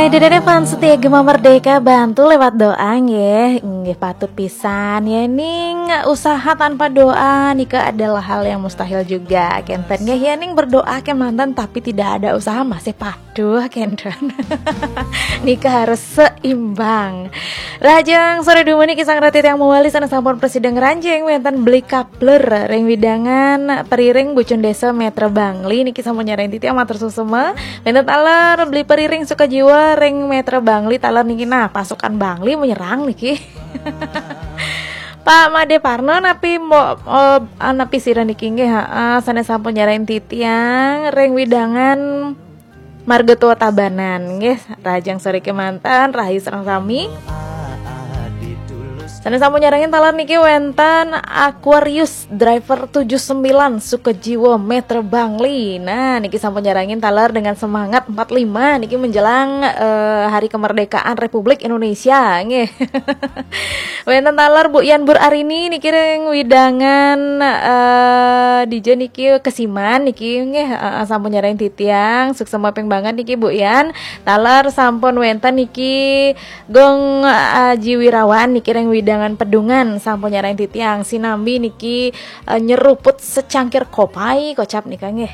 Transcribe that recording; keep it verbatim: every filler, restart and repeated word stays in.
Dede fans setia Gema Merdeka, bantu lewat doa nggih. Nggih, patut pisan ya ning, usaha tanpa doa nika adalah hal yang mustahil juga. Kenten nggih ya ning, berdoa kemanten tapi tidak ada usaha masih paduh kenten. Nika harus seimbang. Rahajeng sore dumun niki sang ratu tiang mawali, sanes sampun prasida ngranjing wenten Beli Kapler ring wewidangan Periring Bucun Desa Metra Bangli niki sampun nyarengin titiang, matur suksma. Wenten taler Beli Periring Sukajiwa ring Metra Bangli taler niki. Nah, pasukan Bangli menyerang niki. Pak Made Parno napi mbok, eh, napi sira niki nggih, heeh, sanes sampun nyarengin titiang ring wewidangan Marga Tua Tabanan nggih. Rahajeng sore kemanten, rahayu sareng sami. Sanes sampun nyarengin taler niki wenten Aquarius Driver tujuh sembilan Sukajiwa Metra Bangli. Nah, niki sampun nyarengin taler dengan semangat empat lima niki menjelang, eh, Hari Kemerdekaan Republik Indonesia nggih. Wenten taler Bu Yan Bur Arini niki ring wewidangan, eh, dija niki Kesiman niki nggih, eh, sampun nyarengin titiang, suksma ping banget niki Bu Yan. Taler sampun wenten niki Gong Aji Wirawan niki ring wewidangan Pedungan sampun nyarengin titiang, sinambi niki, eh, nyeruput secangkir kopai kocap nika nggih.